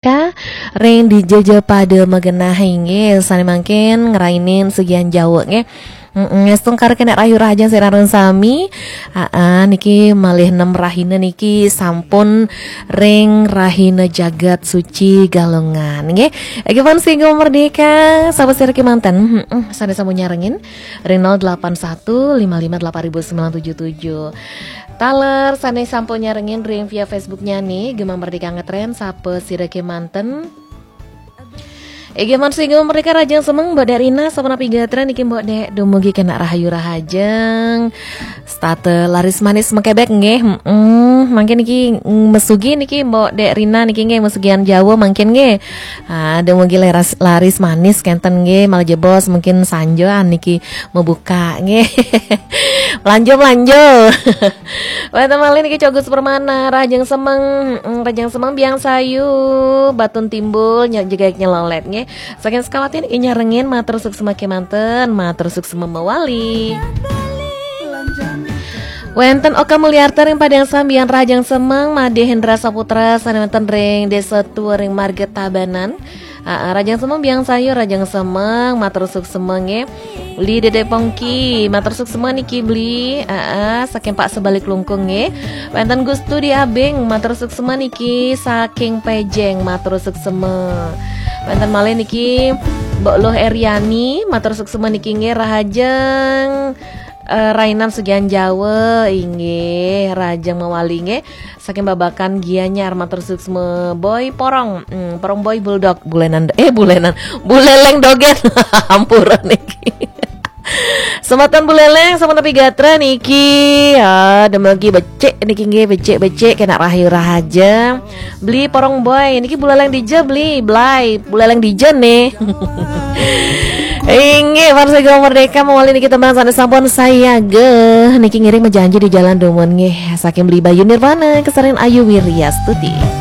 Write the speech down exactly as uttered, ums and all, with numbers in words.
Ka, ring dija ja pada magenah inggih, sane mangkin ngrainin sugihan jawa nggih. Mm-mm, ngestung karo kenek rahayu rahajeng sira run sami. Aa, niki malih nem rahina niki sampun ring rahina jagat suci Galungan nggih. Nggih pun singgung merdeka, sapa sira kemanten? Mm-mm, sane sampun nyarengin ring nol delapan satu lima lima delapan ribu sembilan tujuh tujuh. Taler sane sampun nyarengin ring via Facebooknya nih, Gema Merdeka Ngetren, sapa sira kemanten? Ege man singgung mereka rajang semeng Mbok Dek Rina, sapa napi gatra niki Mbok Dek, dumugi kena rahayu rahajeng. Stata laris manis mekebek nggih. Mm, mangkin niki, mm, mesugi niki Mbok Dek Rina niki nggih mesugian Jawa mangkin nggih. Ah, dumugi laris, laris manis kenten nggih, malah jebos mungkin sanjoan niki mebuka nggih. Melanjo, melanjo. Wenten malih niki Cogus Permana, rahajeng semeng, mm, rahajeng semeng Biang Sayu, Batun Timbul, nyak juga nyelolet nggih. Saking Sukawati niki nyarengin, matur suksma kemanten, matur suksma mawali. Wenten Oka Mulyarta ring Padang Sambian, rahajeng semeng, Made Hendra Saputra sane wenten ring Desa Tua ring Marga Tabanan. Aa, rahajeng semeng Biang Sayu, rahajeng semeng, matur suksma nggih. Beli Dede Pongki, matur suksma niki Beli. Aa, saking Pak Sebalik Lungkung nggih. Wenten Gustu di Abing, matur suksma niki saking Pejeng, matur suksma. Wenten malih niki Mbok Luh Eriani, matur suksma niki nggih rahajeng, eh, rainan sugihan Jawa inggih, rahajeng mawali nggih. Saking Babakan Gianyar, matur suksma Boy Porong, mm, Porong Boy Bulldog, bulenan, eh, bulenan, buleleng dogen. Ampura niki. Semeton buleleng, sampun napi gatra niki. Ya, demogi becik niki nggih, becik-becik kena rahayu rahaja. Beli Porong Boy niki buleleng dija, Beli, Blai, buleleng dija nih. Inggih, Farsa Gema Merdeka mawali niki tembang sane sampun sayaga. Niki ngiring mejanji di jalan dumun nggih. Saking Beli Bayu Nirwana, kesarin Ayu Wiryastuti.